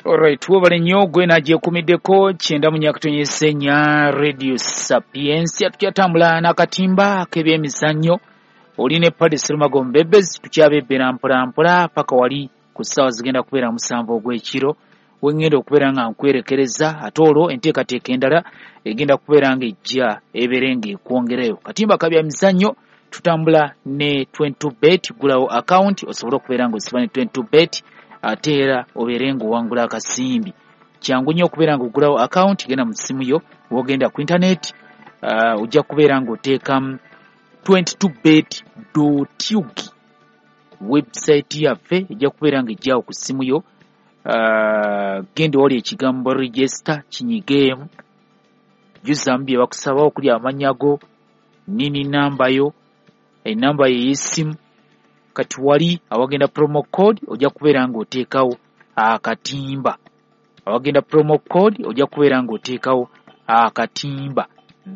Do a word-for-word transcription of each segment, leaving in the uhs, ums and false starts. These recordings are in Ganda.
Alright, webale nnyo gwe nagyekumiddeko kyenda mu nyakatonyesa ennya Radio Sapiensia. Tukyatambula n'akatimba ak'ebyemizannyo, oli ne Paddy Serumago Mbebezi, tukyabebbera mpola mpola paka wali ku ssaawa zigenda kubeera musanvu ogw'ekiro wengenda okubeera nga nkwerekereza, ate olwo enteekateeka endala egenda kubeera nga ejja ebeere ng'ekwongerayo. Katimba kabya mizannyo tutambula ne twenty-two bet, gulawo account osobole okubeera ng'osiba ne twenty-two bet, ate era obeere ng'owangula akasimbi. Kyangu nnyo okubeera ng'ogulawo account, genda mu ssimu yo w'ogenda ku internet, uh, ojja kubeera ng'oteekamu twenty-two bet dot ug. Website yaffe ejja kubeera ng'ejjawo ku ssimu yo. Uh, genda wali ekigambo register kinyigeemu, jjuzaamu bye bakusaba okuli amannya go, nini namba yo, enamba yo ey'essimu. Kati wali awagenda promo code ojja kubeera ng'oteekawo akatimba, awagenda promo code ojja kubeera ng'oteekawo akatimba,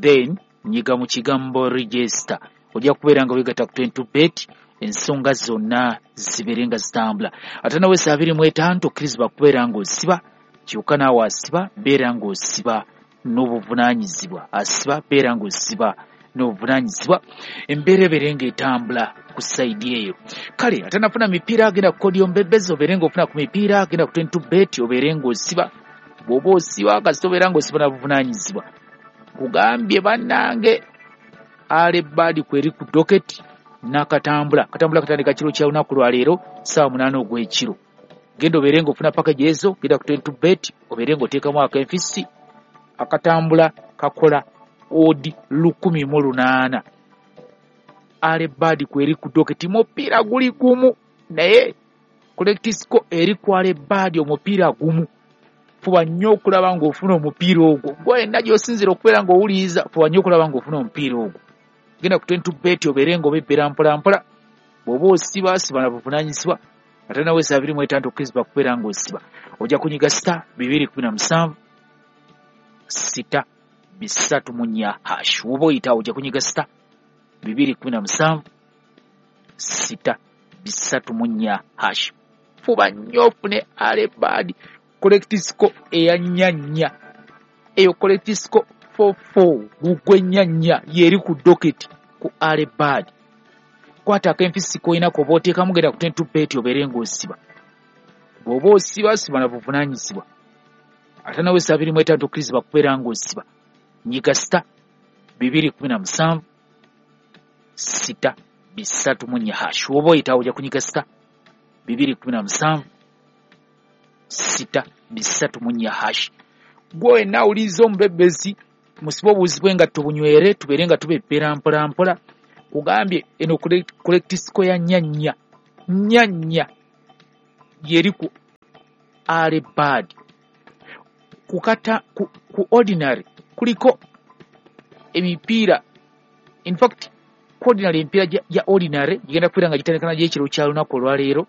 then nyiga mu kigambo register, ojja kubeera nga weegatta ku twenty-two bet, ensonga zonna zibeere nga zitambula. Ate nawe saa abiri mu etaano tokkirizibwa kubeera ng'osiba, kyokka naawe asiba beera ng'osiba n'obuvunaanyizibwa, asiba beera ng'osiba n'obuvunaanyizibwa, embeera ebeere ng'etambula ku sayidi eyo. Kale ate nafuna mipiira, agenda ku kodi y'ombebezi obeere ng'ofuna ku mipiira, agenda ku twenty-two bet obeere ng'osiba. Bw'oba osiba kasita obeera ng'osiba na buvunaanyizibwa. Kugambye bannange Ale Bad kweri ku docket n'akatambula, katambula katandika kiro kya lunaku lwa leero ssaawa munaana ogw'ekiro. Genda obeere ng'ofuna package ezo, genda ku twenty-two bet obeere ng'oteekamu akenfisi, akatambula kakola odi lukumi mu lunaana. Ale Bad kweri ku docket, mupiira guli gumu naye collectisco eri ku Ale Bad omupiira gumu. Fuba nnyo okulaba ng'ofuna omupiira ogwo, gwe wenna gy'osinziira okubeera ng'owuliriza, fuba nnyo okulaba ng'ofuna omupiira ogwo. Genda ku twenty-two bet obeere ng'obebbera mpola mpola. Bw'oba osiba siba na buvunaanyizibwa, ate nawe saa abiri mu etaano tokkirizibwa kubeera ng'osiba. Ojja kunyiga sita bibiri kumi na musanvu sita bisatu mu nnya hash. Woba oyitawo ojja kunyiga sita bibiri kumi na musanvu sita bisatu mu nnya hash. Fuba nnyo ofune Ale Bad collectisco eya nnya nnya, eyo collectisco four four gugwe nnya nnya yeri ku docket ku Ale Bad. Kwata akenfisi k'olina k'oba oteekamu, genda ku twenty-two bet obeere ng'osiba. Bw'oba osiba siba na buvunaanyizibwa, ate nawe saa abiri mu etaano tokkirizibwa kubeera ng'osiba. Nyiga sita bibiri kumi na musanvu sita bisatu mu nnya hash. Woba oyitawo ojja kunyiga sita bibiri kumi na musanvu sita bisatu mu nnya hash. Gwe wenna awuliriza omubebezi, musibe obuwuzi bw'engatto bunywere, tubeere nga tubebbera mpola mpola. Kugambye eno collectisco ya nnya nnya nnya nnya yeri ku Ale Bad. Kukata ku, ku ordinary kuliko emipiira, in fact ku ordinary emipiira gya ordinary gigenda kubeera nga gitandika nagyo ekiro kya lunaku olwaleero.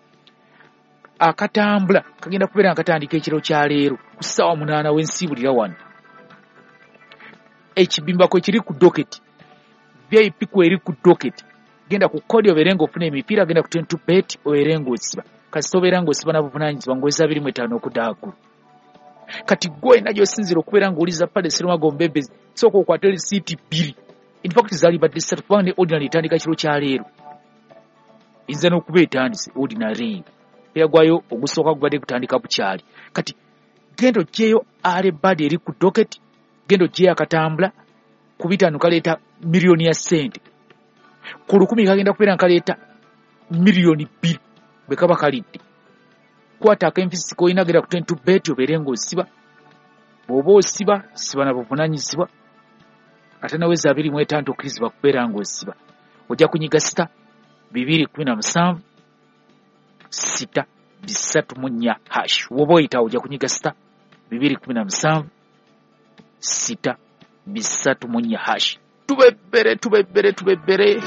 Akatambula kagenda kubeera nga katandika ekiro kya leero ku ssaawa munaana w'ensiibulira wano. Ekibimba kwe kiri ku docket, V I P kweri ku docket. Genda ku kodi obeere ng'ofuna emipiira, genda ku twenty-two bet obeere ng'osiba. Kasita obeera ng'osiba na buvunaanyizibwa ng'oweza abiri mu etaano okudda waggulu. Kati gwe wenna gy'osinziira okubeera ng'owuliriza Paddy Serumago Mbebezi, sooka okwate risiiti bbiri. In fact zaali badde ssatu kubanga ne ordinary etandika kiro kya leero, eyinza n'okuba etandise ordinary eyo. Omupiira gwayo ogusooka gubadde gutandika bukyali. Kati genda oggyeyo Ale Bad eri ku docket, genda oggyeyo akatambula ku bitaano kaleeta miliyoni ya ssente, ku lukumi kagenda kubeera nga kaleeta miliyoni bbiri bwe kaba kalidde. Kwata akenfisi k'olina, genda ku twenty-two bet obeere ng'osiba. Bw'oba osiba siba na buvunaanyizibwa, ate nawe za abiri mu etaano tokkirizibwa kubeera ng'osiba. Ojja kunyiga sita bibiri kumi na musanvu sita bisatu mu nnya hash. Woba oyitawo ojja kunyiga sita bibiri kumi na musanvu sita bisatu mu nnya hash. Tubebbere tubebbere tubebbere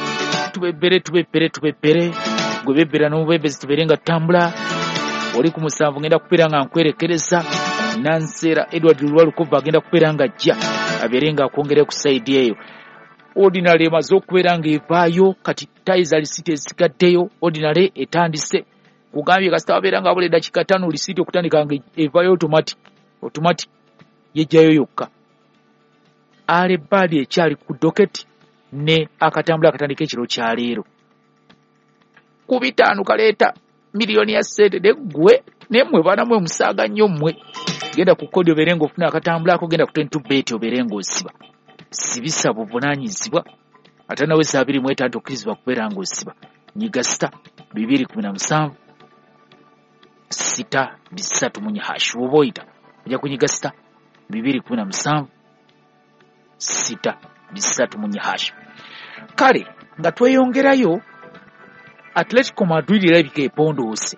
tubebbere tubebbere tubebbere, gwe bebbera n'omubebezi tubeere nga tutambula. Oli ku musanvu ngenda kubeera nga nkwerekereza. Nansera Edward Lwalukova agenda kubeera nga ajja abeere nga akwongera ku sayidi eyo. Ordinary emaze okubeera ng'evaayo, kati tayiza lisiti ezisigaddeyo. Ordinary etandise Kugambye kasita wabeera nga wabula eddakiika ttaano lisiiti okutandika nga evayo automatic automatic yejjayo yokka. Early bird ekyali ku docket ne akatambula akatandika ekiro kya leero. Ku bitaano kaleeta miliyoni ya ssente neggwe nemmwe baana mwe musaaga nnyo mmwe. Genda ku kodi obeere ng'ofuna akatambula ako, genda ku twenty two bet obeere ng'osiba. Sibisa buvunaanyizibwa ate nawe saa abiri mu etaano tokkirizibwa kubeera ng'osiba. Nyiga sita bibiri kumi na musanvu sita bisatu mu nnya hash woba oyita ojja kunyiga sita bibiri kumi na musanvu sita bisatu mu nnya hash. Kale nga tweyongerayo, Atletico Madrid erabika epondoose.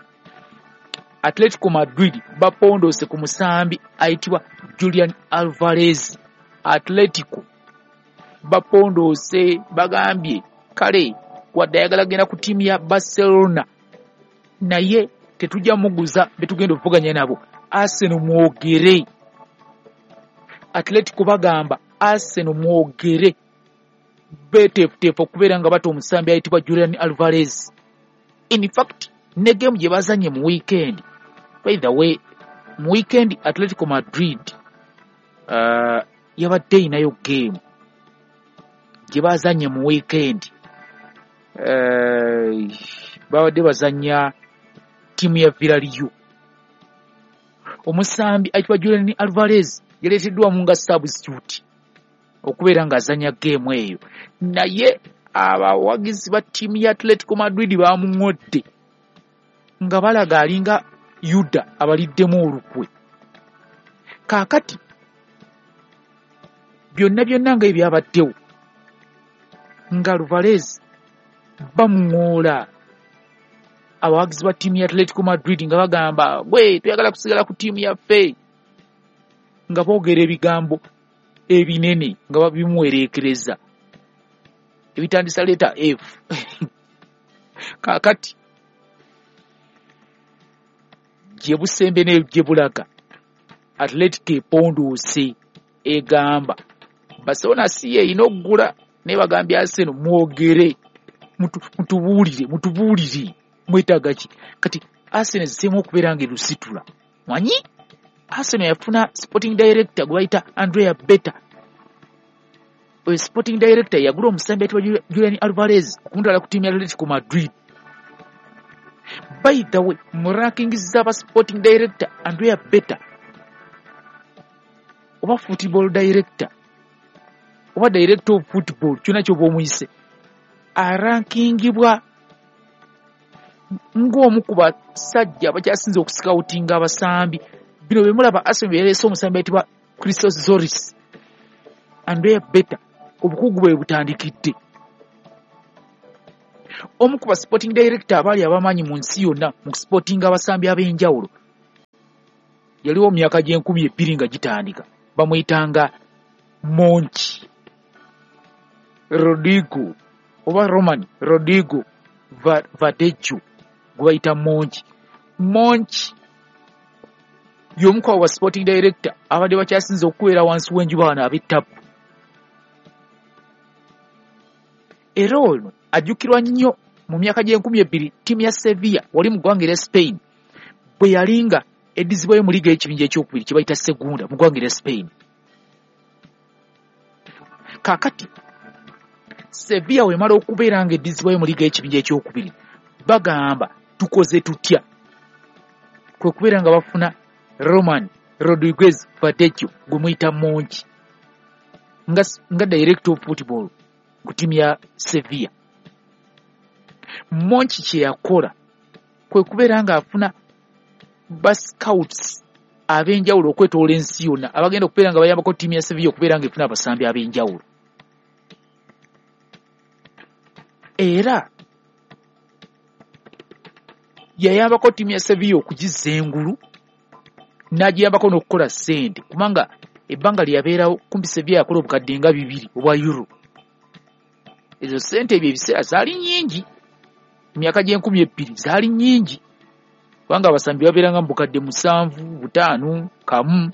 Atletico Madrid bapondoose ku musambi ayitibwa Julian Alvarez. Atletico bapondoose, bagambye kale wadde ayagala genda ku ttiimu ya Barcelona naye tetujja muguza betugenda okuvuganya nabo. Arsenal mwogere. Atletico bagamba Arsenal mwogere, beteefuteefu okubeera nga bata omusambi ayitibwa Julian Alvarez. In fact ne game gye bazanye mu weekend, by the way mu weekend Atletico Madrid uh, yabadde erinayo game gye bazanye mu weekend, uh, babadde bazanya ttiimu ya Villarreal. Omusambi ayitibwa Julian Alvarez yaleeteddwamu nga substitute okubeera ng'azanya game eyo, naye abawagizi ba ttiimu ya Atletico Madrid bamuŋŋodde nga balaga alinga Yuda abaliddemu olukwe. Kaakati byonna byonna nga ebyabaddewo nga Alvarez bamuŋŋoola abawagizi ba ttiimu ya Atletico Madrid nga bagamba gwe tuyagala kusigala ku ttiimu yaffe, nga boogera ebigambo ebinene nga babimuwereekereza ebitandisa leeta F. Kaakati gye busembe ne gye bulaga Atletico epondoose, egamba Barcelona si ye erina oggula, naye bagambye Arsenal mwogere, mutubuulire mutubuulire mwetaaga ki. Kati Arsenal ziseemu okubeera nga erusitula. Manyi Arsenal yafuna sporting director gwe bayita Andrea Berta. Oyo sporting director yagula omusambi ayitibwa Julian Alvarez okumutwala ku ttiimu ya Atletico Madrid. By the way, mu rankings z'aba sporting director Andrea Berta oba football director oba director of football kyonna ky'oba omuyise, arankingibwa ng'omu ku basajja abakyasinze okusikawutinga abasambi. Bino bye mulaba Arsenal bye yaleese omusambi ayitibwa Christos Zolis. Andrea Berta obukugu bwe butandikidde. Omu ku ba sporting director abaali abamaanyi mu nsi yonna mu kusipotinga abasambi ab'enjawulo yaliwo mu myaka gy'enkumi ebbiri nga gitandika, bamuyitanga Monchi Rodrigo oba Roman Rodrigo Vadejo gwe bayita Monchi. Monchi y'omu ku abo ba sporting director abadde bakyasinze okubeera wansi w'enjuba wano ab'ettabu. Era ono ajjukirwa nnyo mu myaka gy'enkumi ebbiri ttiimu ya Sevilla wali mu ggwanga erya Spain bwe yalinga eddizibwayo mu liiga y'ekibinja ekyokubiri kye bayita Segunda mu ggwanga erya Spain. Kaakati Sevilla wemala okubeera nga eddizibwayo mu liiga y'ekibinja ekyokubiri, bagamba tukoze tutya? Kwe kubeera nga bafuna Roman Rodriguez Vadejo gwe muyita Monchi nga, nga director of football ku ttiimu ya Sevilla. Monchi kye yakola kwe kubeera ng'afuna ba scouts ab'enjawulo okwetoola ensi yonna abagenda okubeera nga bayambako ttiimu ya Sevilla okubeera ng'efuna abasambi ab'enjawulo. Era yayambako ttiimu ya Sevilla okugizza engulu n'agiyambako n'okukola ssente, kubanga ebbanga lye yabeerawo kumpi Sevilla yakola obukadde nga bibiri obwa euro. Ezo ssente ebyo ebiseera zaali nnyingi, emyaka gy'enkumi ebbiri zaali nnyingi, kubanga abasambi babeeranga mu bukadde musanvu butaano kamu,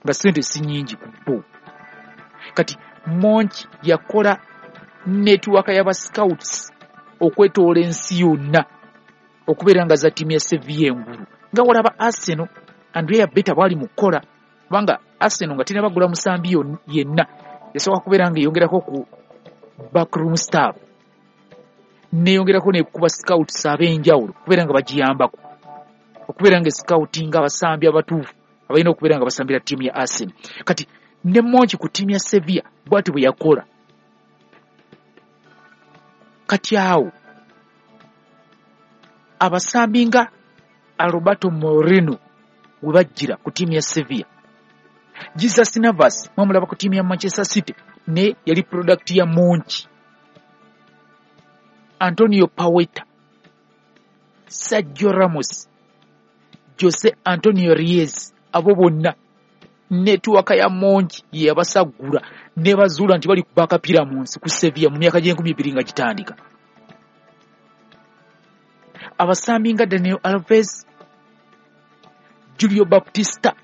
nga ssente si nnyingi ku bo. Kati Monchi yakola netiwaaka y'aba scouts okwetoola ensi yonna okubeera nga za ttiimu ya Sevilla engulu nga walaba Arsenal. Andrea Beta bwali mu kukola, kubanga Arsenal nga tennabagula musambi yenna yasooka kubeera nga eyongerako ku backroom staff, neyongerako nekuba scouts ab'enjawulo okubeera nga bagiyambako okubeera nga scouting abasambi abatuufu abalina okubeera nga basambira ttiimu ya Arsenal. Kati ne Monchi ku ttiimu ya Sevilla bw'ati bwe yakola. Kati awo abasambi nga Alberto Moreno we bajjira ku ttiimu ya Sevilla, Jesus Navas mwamulaba ku ttiimu ya Manchester City ne yali product ya Monchi, Antonio Paweta, Sergio Ramos, Jose Antonio Reyes, abo bonna netiwaka ya Monchi ye yabasaggula ne bazuula nti bali kuba akapiira mu nsi ku Sevilla mu myaka gy'enkumi bbiri nga gitandika. Abasambi nga Daniel Alves, Julio Baptista,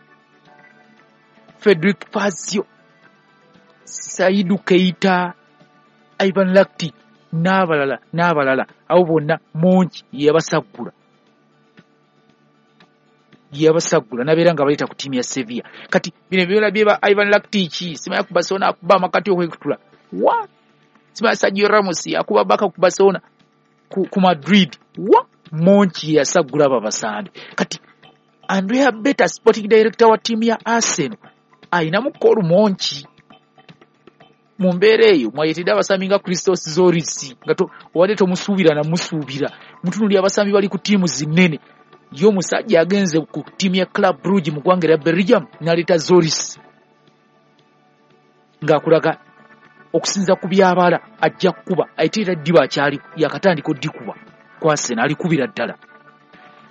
Frederic Fazio, Saidu Keita, Ivan Rakitic n'abalala n'abalala, abo bonna Monchi yabasaggula yabasaggula n'abeera nga baleeta ku ttiimu ya Sevilla. Kati bino byona byeba Ivan Rakitic simanya ku Barcelona akuba amakati okwekutula wa, simanya Sergio Ramos akuba baka ku Barcelona ku, ku Madrid wa, Monchi yasaggula abo abasambi. Kati Andrea Beta, sporting director wa ttiimu ya Arsenal, ayinamu Paul Monchi mu mbeera eyo mwayetedde abasambi nga Christos Zoris nga obadde tomusuubira namusuubira, mutunuulira abasambi bali ku ttiimu zinnene. Ye omusajja agenze ku ttiimu ya Club Brugge mu ggwanga erya Belgium n'aleeta Zoris ng'akulaga okusinza ku byabala ajja kukuba, ate era ddiba akyali yakatandika oddikuba ku Arsenal alikubira ddala.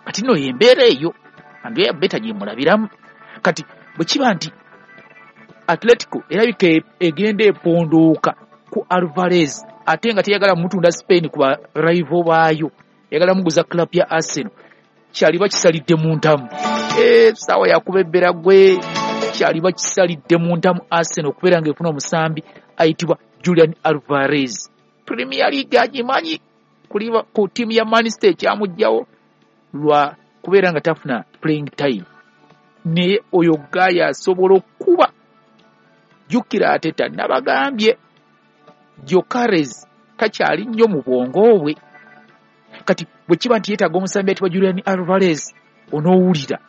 Kati nno y'embeera eyo Andrea Beta gye mulabiramu. Kati bwe kiba nti Atletico erabika egenda epondooka ku Alvarez ate nga teyagala mutunda Spain ku ba rival baayo, eyagala muguza club ya Arsenal, kyaliba kisalidde mu ntamu. Essaawa yakuba ebbera gwe, kyaliba kisalidde mu ntamu Arsenal okubeera ng'efuna omusambi ayitibwa Julian Alvarez. Premier League agimanyi ku ttiimu ya Manchester ekyamuggyawo lwa kubeera nga tafuna playing time, naye oyo gaaya asobola okuba. Jjukira Arteta nabagambye Gyökeres takyali nnyo mu bwongo bwe. Kati bwe kiba nti yeetaaga omusambi ayitibwa Julian Alvarez, onoowulira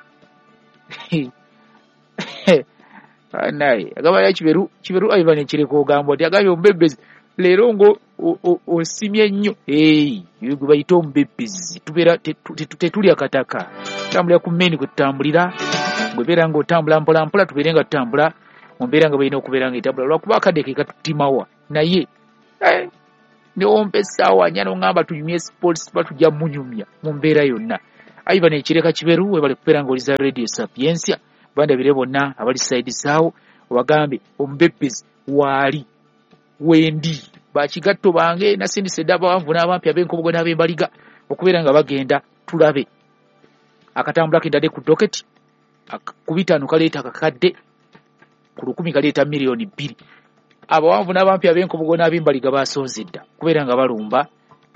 naye agamba Kiberu Kiberu Ivan Ekireka ogamba nti agambye omubebbezi leero ngo osimye nnyo. Gwe bayita omubebbezi, tubeera tetulya kataka, tutambulira ku mmeeni kwe tutambulira. Bwebeera ng'otambula mpola mpola, tubeere nga tutambula mu mbeera nga balina okubeera nga etambula, lwakuba akadde ke katutimawa. Naye newompa essaawa nnya n'oŋŋamba tunyumye sports, tuba tujja munyumya mu mbeera yonna. Ivan Ekireka Kiberu, webale kubeera ng'oliza Radio Sapientia. Bandabire bonna abali saidi saawo obagambe omubebbezi waali wendi bakigatto bange nasindise dda abawanvu n'abampi ab'enkobogo n'ab'embaliga okubeera nga bagenda tulabe akatambula kendadde ku doketi ku bitaano kaleeta akakadde, ku lukumi kaleeta miliyoni bbiri. Abawanvu n'abampi ab'enkobogo n'ab'embaliga basonze dda kubeera nga balumba,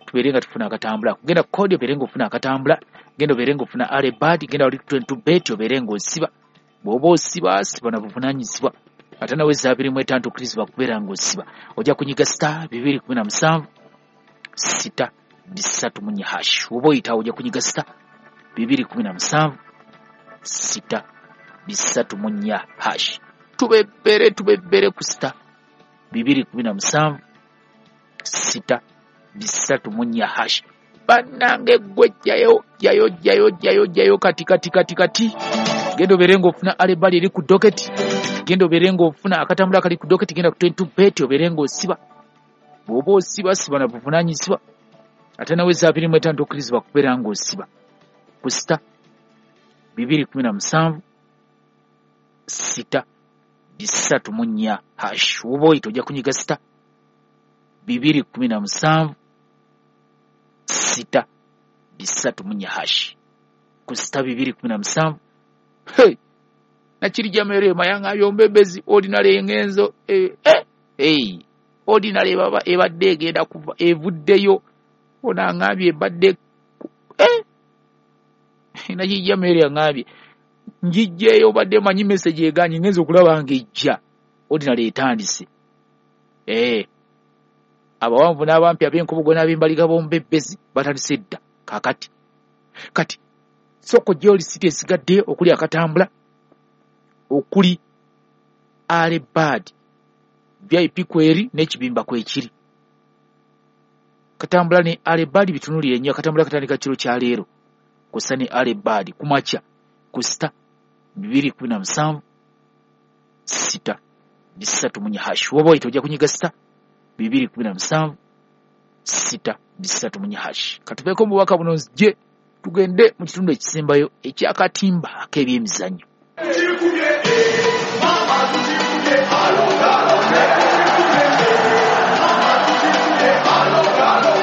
tubeere nga tufuna akatambula. Genda ku kodi obeere ng'ofuna akatambula, genda obeere ng'ofuna alebad, genda wali twenty bet obeere ng'osiba. Bw'oba osiba siba na buvunaanyizibwa, ate nawe eza abiri mu etaano tokkirizibwa kubeera ng'osiba. Ojja kunyiga star bibiri kumi na musanvu sita bisatu mu nnya hash. Oba oyitawo ojja kunyiga star bibiri kumi na musanvu sita bisatu mu nnya hash. Tubebbere tubebbere ku star bibiri kumi na musanvu sita bisatu mu nnya hash. Bannange ggwe jjayo jjayo jjayo jjayo jjayo kati kati kati kati. Genda obeere ng'ofuna alebali eri ku doketi, genda obeere ng'ofuna akatambula akali ku doketi, genda ku twenty bet obeere ng'osiba. Bw'oba osiba siba na buvunaanyizibwa, ate nawe eza abiri mu etaano tokkirizibwa kubeera ng'osiba ku sita bibiri kumi na musanvu sita bisatu mu nnya hash. Oba oyita ojja kunyiga sita bibiri kumi na musanvu sita bisatu mu nnya hash ku sita bibiri kumi na musanvu. Hey, nakirijja merema yangambye omubebbezi ordinary engenzo eh, eh, hey, ordinary baba ebadde egenda kuva evuddeyo, ono angambye ebadde eh, Nakijja Mary aŋŋambye njijjeeyo, obadde manyi message eganye, ngenza okulaba ng'ejja ordinary etandise. Eh, abawanvu n'abampi, ab'enkobogo n'ab'embaliga b'omubebbezi batandise dda. Kaakati kati sooka ojjeyo lisiti esigadde okuli akatambula, okuli alebad V I P kweri n'ekibimba kwekiri. Katambula ne alebad bitunulire nnyo. Akatambula katandika kiro kya leero kussa ne alebad kumakya ku sita bibiri kumi na musanvu sita bisatu munye hash. Woba oyita ojja kunyiga sita bibiri kumi na musanvu sita bisatu munye hash. Katuveeko mu bubaka buno nzije tugende mu kitundu ekisembayo ekyakatimba ak'ebyemizannyo.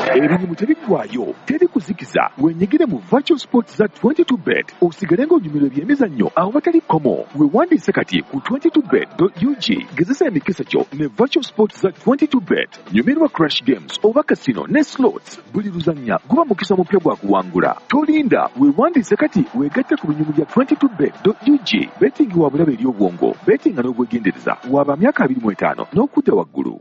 Ebirimu tebiggwayo, teri kuzikiza. Wenyigire mu virtual sports za twenty-two bet osigale ng'onyumirwa ebyemizannyo awatali kkomo. Weewandiise kati ku twenty-two bet dot U G. Gezesa emikisa gyo ne virtual sports za twenty-two bet. Nyumirwa crash games oba casino ne slots. Buli luzannya guba mukisa mupya gwa kuwangula. Tolinda, weewandiise kati weegatte ku binyumu bya twenty-two bet dot U G. Betting wa bulabe eri obwongo, bettinga n'obwegendereza. Waba myaka abiri mu etaano n'okudda waggulu.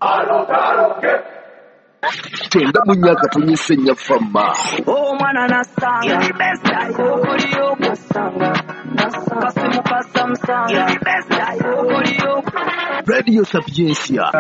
Tenda mu myaka tonyese nnya fama. Omwana nasanga okuliyo kusanga kasimu kasamusanga okuliyo Radio Sapientia.